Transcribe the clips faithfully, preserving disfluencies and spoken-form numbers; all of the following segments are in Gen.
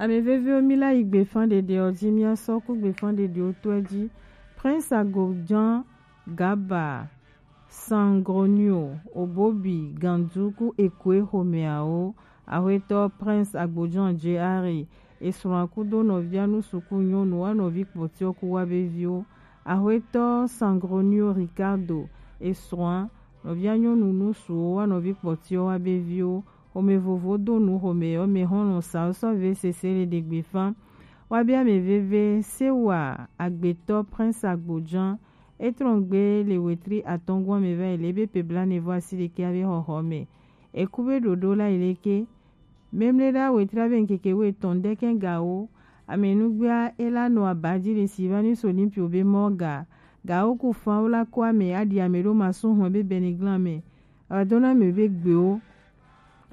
Ame veviwo, mi la yi gbefan ɖeɖe ɔ ji, mi asɔ ku gbefan ɖeɖewo tɔɛ ji. Prince Agojan Gaba, Sangronio, Obobi, Gandu ku Ekwe xomɛawo. Axwetɔ Prince Agbojan J R, esrɔ̃a kudo nɔvia nusuku nyɔnu wa nɔvi kpɔtiɔ ku wa be viwo. Axwetɔ Sangronio Ricardo, esrɔ̃a nɔvia nyɔnu nusuwo wa nɔvi kpɔtiɔ wa be viwo. Xomɛ vovo do nu xomɛ yɔ mɛ xɔlɔn sa sɔ ve sese le ɖegbe fan. Wa be ame veve se wa agbetɔ Prince Agbojan. Etrɔngbe le wetri atɔngua mɛ va yi le be pe bla ne vɔ asi ɖekɛ abe xɔxɔ mɛ. Eku be ɖoɖo la yi leke. Memle ɖa wetri abe ŋkeke wo etɔn ɖekɛ gawo. Ame nugbea ela nɔ abaji le si va ni so limpi obe mɔ ga. Gawo ku fan wo la ko ame aɖi ame ɖo ma so hɔn be beniglan mɛ. Ava do na ame be gbewo.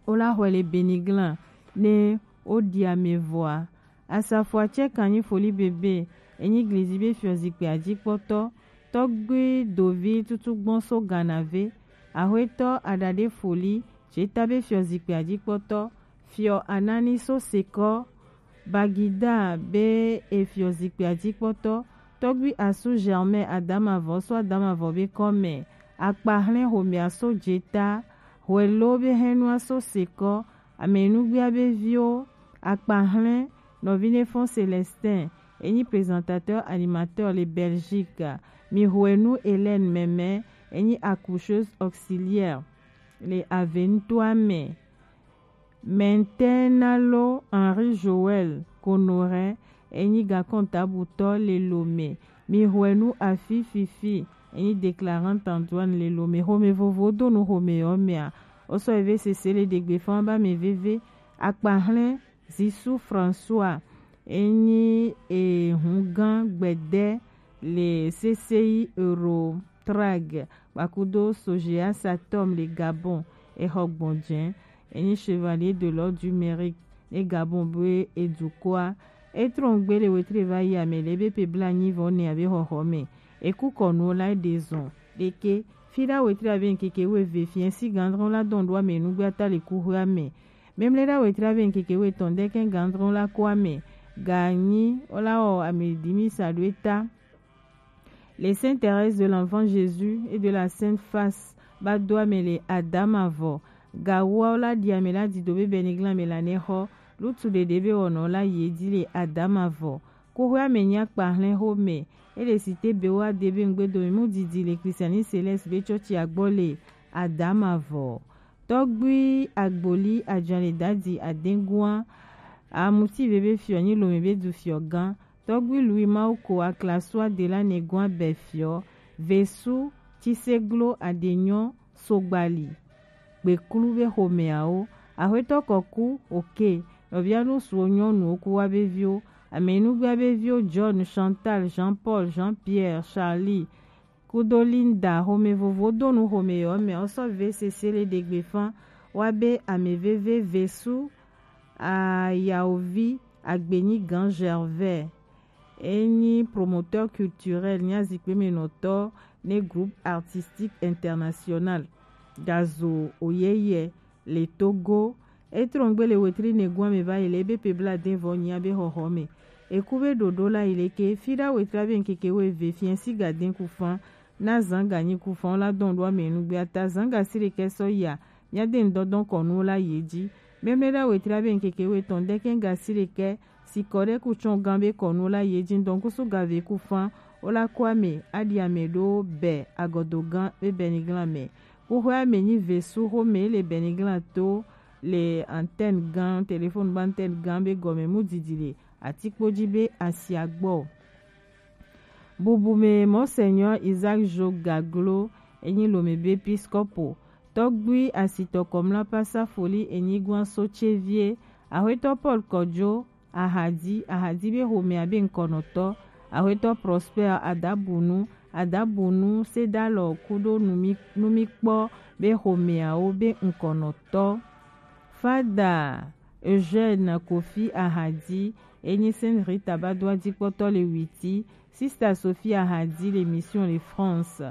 Wo la xɔe le beniglan ne wo ɖi ame vɔa. Asafoa tsɛ kan nyi foli bebe, enyi glizi be fiɔ zikpui ajikpɔtɔ, tɔgbui dovi tutu gbɔn so Ghana ve, axwetɔ aɖaɖe foli, jeta be fiɔ zikpui ajikpɔtɔ, fiɔ anani so sekɔ, Bagida be efiɔ zikpui ajikpɔtɔ, tɔgbui asu Germain Adamavɔ so Adamavɔ be kɔmɛ, akpahlɛn xomɛa so jeta, hwelo be hɛnua so sekɔ, ame nugbea be viwo, akpahlɛn nɔvi ne fɔn Célestin, enyi présentateur animateur le Belgique, mi hwenu Hélène Mɛmɛ, enyi accoucheuse auxiliaire le Aventoa mɛ. Mɛntɛnalo Henri Joël Konoré, enyi gakɔntabutɔ le Lomé, mi hwenu afi fifi, enyi déclarant en douane le Lomé. Xomɛ vovo do nu xomɛ yɔ mɛa, osɔ eve sese le ɖegbe fan ba mɛ veve, akpahlɛn Zisu François, enyi ehungã gbede le C C I Eurotrack, kpakudo Sogea Satom le Gabon, exɔ gbɔnjɛ, enyi Chevalier de l'Ordre du Mérite, ne Gabon be edukɔa, etrɔngbe le wetri va yi ame le be pe bla nyi vɔ ne abe xɔxɔ mɛ. Eku kɔnu la de zɔn, ɖeke, fi ɖa wetri abe ŋkeke wo eve fiɛ si gandrɔn la dɔn ɖo ame nugbe ata le kuxoe ame. Memle ɖa wetri abe ŋkeke wo etɔn ɖekɛ gandrɔn la ko ame. Ganyi, ola wɔ ame dimi sa ɖo eta. Les Saintes Thérèse de l'Enfant Jésus et de la Sainte Face ba do ame le Adamavɔ. Gawoa la ɖi ame la dido be beniglan me la ne xɔ. Lutu ɖeɖe be wɔnɔ la ye di le Adamavɔ. Kuxoe ame nyi akpahlɛn xomɛ. Ele site be wa de be ŋgbe do mu didi le Christiani Céleste be tsɔtsi agbɔ le Adamavɔ. Tɔgbui Agboli Ajanle Dadi Adengua, Amuti Veve Fiɔ nyi Lome be du fiɔ gan. Tɔgbui Louis Mauko Aklasua Dela Negua Bɛ Fiɔ, Vesu Tsiseglo Adenyɔ Sogbali, Gbeklu be xomɛawo, Axwetɔ Kɔku Oke, nɔvia nusuwo nyɔnuwo ku wa be viwo, Amenugbia be viwo John, Chantal, Jean-Paul, Jean-Pierre, Charlie, kudo Linda, xomɛ vovo do nu xomɛ yɔ mɛ, osɔ ve sese le ɖegbe fan, wa be ame veve Vesu, Ayaovi, Agbenyi Gan Gervais, enyi promoteur culturel, nyi azikpe me nɔtɔ ne groupe artistique international, gazo oyeye, le Togo. Etrɔngbe le wetri nɛgua me va yi le ebe pe bla de vɔ nyia be xɔxɔ me. Eku be ɖoɖo la yi le ke fi ɖa wetri abe ŋkeke wo eve fiɛ si ga de ku fan na zan ga nyi ku fan la dɔn ɖo ame nugbe ata zan ga si ɖekɛ sɔ ya mia de ŋdɔdɔn kɔnu la ye ji. Memle ɖa wetri abe ŋkeke wo etɔn ɖekɛ ga si ɖekɛ sikɔ ɖe ku tsɔn gan be kɔnu la ye ji dɔn kusu ga ve ku fan wo la kɔ ame aɖi ame ɖo bɛ agɔdo gan be bɛ ni glan mɛ. Kuxoe ame nyi Vesu xomɛ le Beniglan to le antenne gan, téléphone ba antenne gan be gɔme mu didi le atikpo ji be asia gbɔ. Bubu me Monseigneur Isaac Jo Gaglo enyi Lome be episkopo. Tɔgbui asitɔ kɔmla pasa foli enyi gwan so tsevie. Axwetɔ Paul Kɔdzo Ahadi, Ahadi be xomɛa be ŋkɔnɔtɔ, Axwetɔ Prosper Adabunu, Adabunu Sedalɔ kudo numi, numikpɔ be xomɛawo be ŋkɔnɔtɔ. Fada Eugène Kofi Ahadi, enyi Sainte Rita ba do ajikpɔtɔ le Witi, Sista Sophie Ahadi le Mission le France.